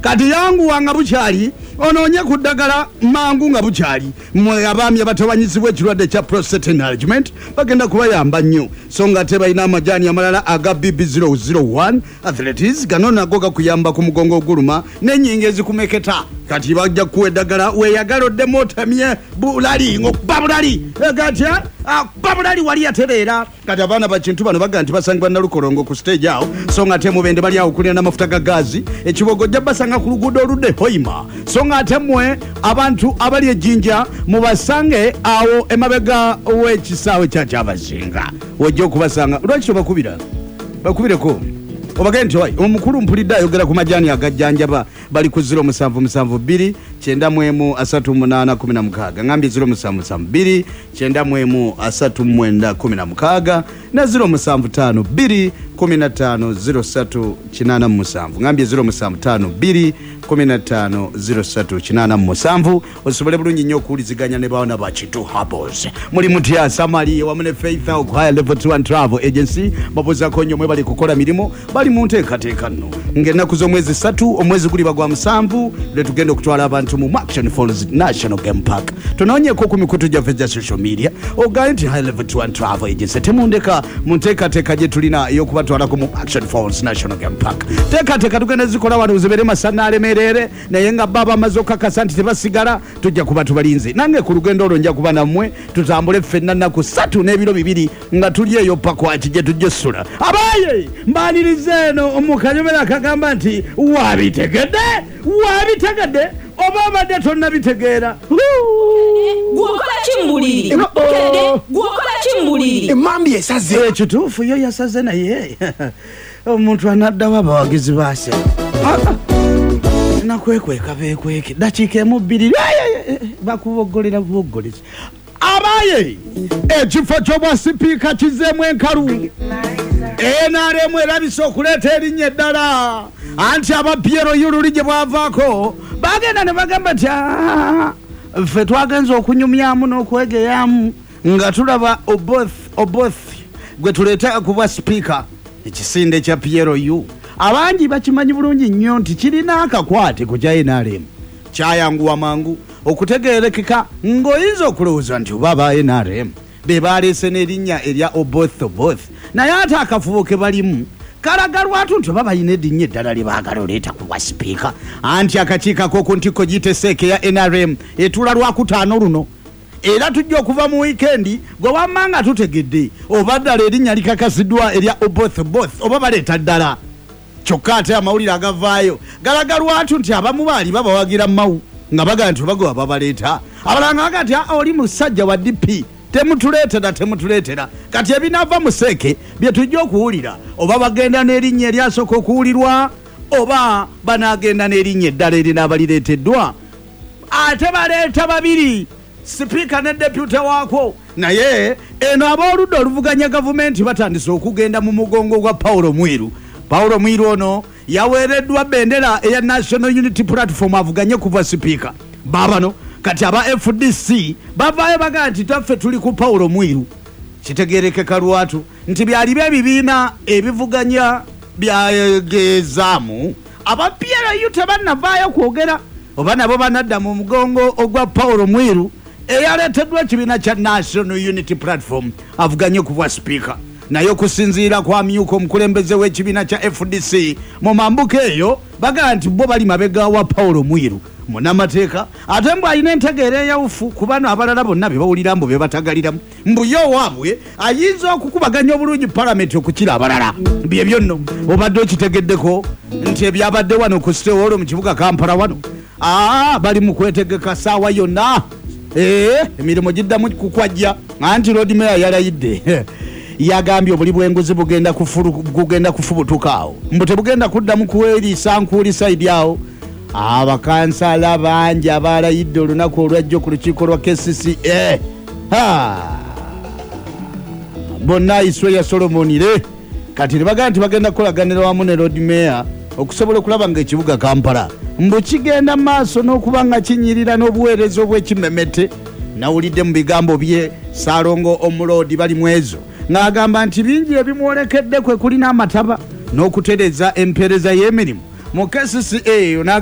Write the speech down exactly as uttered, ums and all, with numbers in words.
Kati yanguwa nga bukyali, onoonye ku ddagala mangu nga bukyali. Mmwe abaami abatawanyizibwa ekirwadde kya prostate enlargement, bagenda kubayamba nnyo. So nga ate balina amajaani amalala aga B B zero zero one arthritis. Gano nago gakuyamba ku mugongo oguluma n'ennyingo ezikumeketa. Kati bajja kukuwa eddagala weeyagala oddemu otemye bulali ng'okuba bulali gatya akuba bulali wali yatereera. Kati abaana bakintu bano bagaa nti basangibwa Nalukolongo ku stage awo. So nga ate Mubende bali awo kulina n'amafuta ga gazi. Ekibogo ojja basanga ku luguudo oludde Hoima. So nga ate mmwe abantu abali Ejjinja, mubasange awo emabega w'ekisaawe kya Kyabazinga, wojja okubasanga. Lwaki tobakubira? Bakubireko obagende nti owai omukulu mpulidde ayogera ku majaani agajjanjaba. Bali ku zero musanvu musanvu bbiri kyenda mu emu asatu munaana kumi na mukaaga. Ngambye zero musanvu musanvu bbiri kyenda mu emu asatu mwenda kumi na mukaaga ne zero musanvu ttaano bbiri kumi na ttaano zero ssatu kinaana mu musanvu. Ngambye zero musanvu ttaano bbiri kumi na ttaano zero ssatu kinaana mu musanvu, osobole bulungi nnyo okuwuliziganya ne baana ba Kintu Herbals. Muli mutya? Samali wamu ne Faith ku Higher Level Tour and Travel Agency babuzaako nnyo. Mwe bali kukola mirimu, bali mu nteekateeka nno ng'ennaku z'omwezi ssatu omwezi guliba gwa musanvu lwe tugenda okutwala abantu mu Murchison Falls National Game Park. Tunoonyeeko ku mikutu gyaffe gya social media, ogaye nti High Level Tour and Travel Agency temundeka mu nteekateeka gye tulina ey'okubatwalako mu Murchison Falls National Game Park. Teekateeka tugenda zikola wano zibeere masana alemerere, naye nga baba bamaze okukakasa nti tebasigala, tujja kuba tubalinze. Nange ku lugendo olwo nja kuba nammwe, tutambule ffenna nnaku ssatu n'ebiro bibiri nga tuli eyo Pakwaki gye tujja essula. Abaye mbaniriza eno mu kanyomero akagamba nti wabitegedde, wabitegedde oba obadde tonnabitegeera. Gwokola ki mu buliri? Gwokola ki mu buliri? Emambi esaze. Ekituufu yo yasaze, naye omuntu anaddawo abawagizi baase nakwekweka bekweke dakiika emu bbiri bakuboggolera buboggolezi. Abaye, ekifo ky'obwa sipiika kizeemu enkalu. N R M erabise okuleeta erinnya eddala, anti aba P L U luli gye bwavaako bagenda ne bagamba nti, "Ah, ffe twagenza okunyumyamu n'okwegeyamu nga tulaba Oboth Oboth gwe tuleeta kuba sipiika." Ekisinde kya P L U abangi bakimanyi bulungi nnyo nti kirina akakwate ku kya N R M. Kyayanguwa mangu okutegerekeka ng'oyinza okulowooza nti oba aba N R M be baleese n'erinnya erya Oboth Oboth, naye ate akafubo ke balimu kalaga lwatu nti oba balina erinnya eddala lye baagala oleeta ku bwa sipiika. Anti akakiiko ak'oku ntikko giyite C E C eya N R M etuula Lwakutaano luno, era tujja okuva mu wiikendi gwe wamma nga tutegedde oba ddala erinnya likakasiddwa erya Oboth Oboth oba baleeta ddala. Kyokka ate amawulire agavaayo galaga lwatu nti abamu baali babawagira Mawu nga bagaa nti obagoba babaleeta, abalala nga bagaa nti, "Ah, oli musajja wa D P, temutuleetera, temutuleetera." Kati ebinaava mu C E C bye tujja okuwulira, oba bagenda n'erinnya eryasooka okuwulirwa oba banaagenda n'erinnya eddala erinaaba lireeteddwa. Ate baleeta babiri, sipiika ne deputy waakwo. Naye eno ab'oludda oluvuganya gavumenti batandise okugenda mu mugongo gwa Paulo Mwiru. Paulo Mwiru ono yaweereddwa bendera eya National Unity Platform avuganye kuva sipiika. Baabano kati aba F D C bavaayo bagaa nti taffe tuli ku Paulo Mwiru. Kitegerekeka lwatu nti byali ebibiina ebivuganya byagezaamu. Aba P L U tebannavaayo kwogera oba nabo banadda mu mugongo ogwa Paulo Mwiru eyaleeteddwa ekibiina kya National Unity Platform avuganye ku bwa sipiika. Naye okusinziira ku amyuka omukulembeze w'ekibiina kya F D C mu mambuka eyo, bagaa nti bo bali mabega wa Paulo Mwiru munamateeka, ate mbu alina entegeera eyawufu ku bano abalala bonna be bawulira mbu be batagaliramu, mbu ye owaabwe ayinza okukubaganya obulungi palamenti okukira abalala. Byebyo nno obadde okitegeddeko nti ebyabadde wano ku City Hall mu kibuga Kampala wano. Aa, bali mu kwetegeka saawa yonna. Ee, emirimu giddamu kukwajja, anti Lord Mayor yalayidde, yagambye obuli bw'enguzi bugenda kufulu- bugenda kufubutuka awo, mbu tebugenda kuddamu kuweriisa nkuuli side awo. Abakansala bangi abalayidde olunaku olwajjo ku lukiiko lwa K C C A. Ha! Bonna iswe ya Solomonire kati ne bagamba nti bagenda kukolaganira wamu ne Lord Mayor okusobola okulaba nga ekibuga Kampala mbu kigenda mu maaso n'okuba nga kinyirira n'obuweereza obw'ekimemete. Nawulidde mu bigambo bye Saalongo omuloodi bali mwezo ng'agamba nti bingi ebimwolekedde kwe kulina amataba n'okutereeza empeereza y'emirimu mu K C C A. N'agamba